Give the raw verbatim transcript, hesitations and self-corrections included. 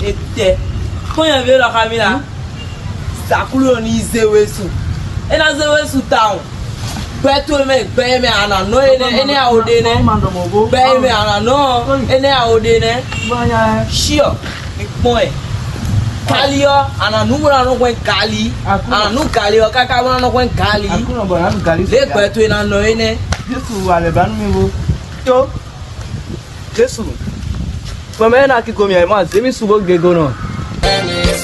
Etɛ kpɔ́n nyɛví élɔ́ xá mì la. Zakúlu ɔ́ ní zé we su. É ná zé we su tawun. Gbɛ towe mɛ, gbɛ e mɛ a nǎ nɔ énɛ́, énɛ́ a o ɖe nɛ́. Gbɛ e mɛ a nǎ nɔ ɔ́, énɛ́ a o ɖe nɛ́. Shiɔ, mi kpɔ́n ɛ. Gali ɔ́, a nǎ nú bó ná nɔ hwɛ́n gali. A nǎ nú gali ɔ́ káká bó ná nɔ hwɛ́n gali. Aklúnɔ bɔ nǎ ɖu gali. Lě gbɛ towe ná nɔ énɛ́. Jésù wà lɛ̌ ba nú mi bó. Tó. Jésù, gbɔn mɛ e ná kíko mì ɛ mɔ azě mì su bó gego nɔ.